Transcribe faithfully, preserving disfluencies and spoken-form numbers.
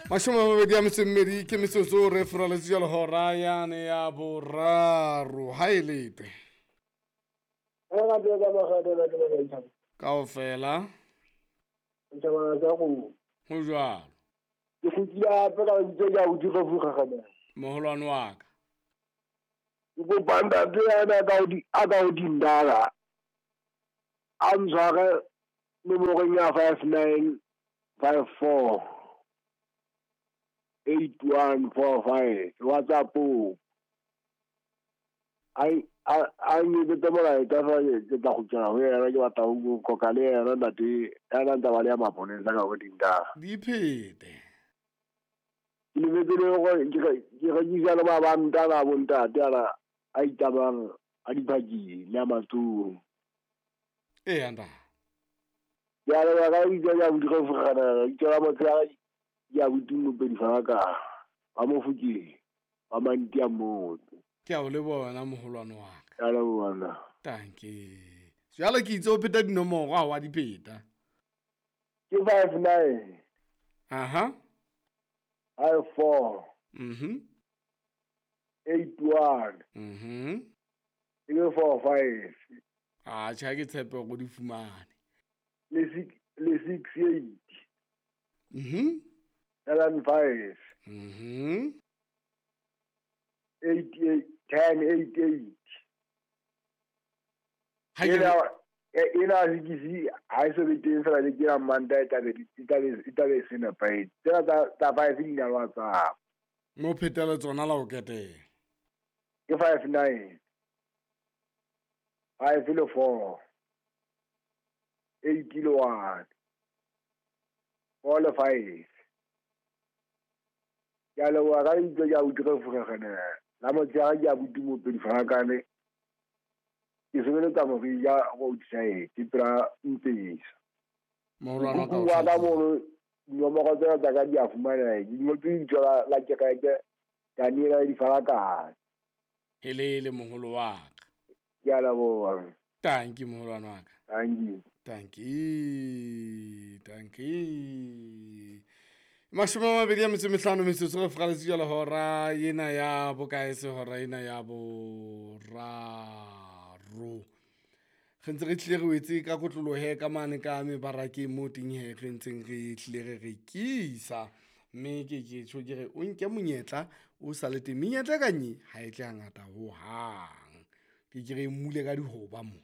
Mashome a mabedi a metso e mmedi ke metsotso re furaletse jalo hora yane ya boraro ha e lete kaofela ho jwalo. Ke kgutlile hape ka lebitso ke abuti Refu moholwane wa ka. Ke kopa ntate yana a ka a ka ho dindala a ntshware nomorong ya five nine five four eight one four five WhatsApp-ong. A a nketsetse molaetsa feela ke tla kgutlela ho yena, ke batla ho qoqa le yena ntate ya na ntse a baleha maponesa ka ho dindala. Di phete. Ke lebetse le hore ke rekisa le mabanta ana a bo ntate ana a itamang a diphakeng le a matsoho. Eya ntate. Ke a leboha ka lebitso ke abuti Refu lebitso la motshehare ke abuti Mopedi Falakang wa Mofokeng wa Manti a Motse. Ke a o leboha wena moholwane wa ka. Ke a leboha nna. Tanki. Jwale ke itse o pheta dinomoro ha wa di pheta. Ke five nine. Aha. Five four. Mhm. Eight one. Mhm. Ke four five. Ah, tjhe ke tshepe hore o di fumane. Le six, le six eight. Mhm. Seven five. Mhm. Eight eight ten eight eight. Ha ke Ena ena six ha e so be teng fela le ke ya Manta e tla be e tla be e tla be se nepahetse. Tsena tsa tsa five di na le WhatsApp. Mo phetele tsona la o ketela. Ke five nine. Five le four. Eight le one. Four le five. Ke a leboha ka lebitso ke abuti Refu la motshehare ke abuti Mopedi Falakane. Ke sebeletsa Morija roadside pela Mpesa. Moholwane wa ka o Mokhukhu wa ka hlakile. mono dinomoro tsena tsa ka di a fumaneha. Di ngotswe lebitso la la kereke Daniel Difalakane. Helele moholo wa ka. Ke a leboha. Tanki moholwane wa ka. Tanki. Tanki. Tanki. Mashome a mabedi a metso e mehlano metsotso re furaletse jalo hora ena ya bokae se hora ena ya boraro. Re ntse re tlile re wetse ka kotlolohe ka mane ka mebarakeng mo teng he re ntseng re tlile re rekisa. Mme ke ke tjho ke re o nke monyetla o sa le teng. Menyetla e kang e ha e tle hangata hohang. Ke ke re mmule ka dihoba mo.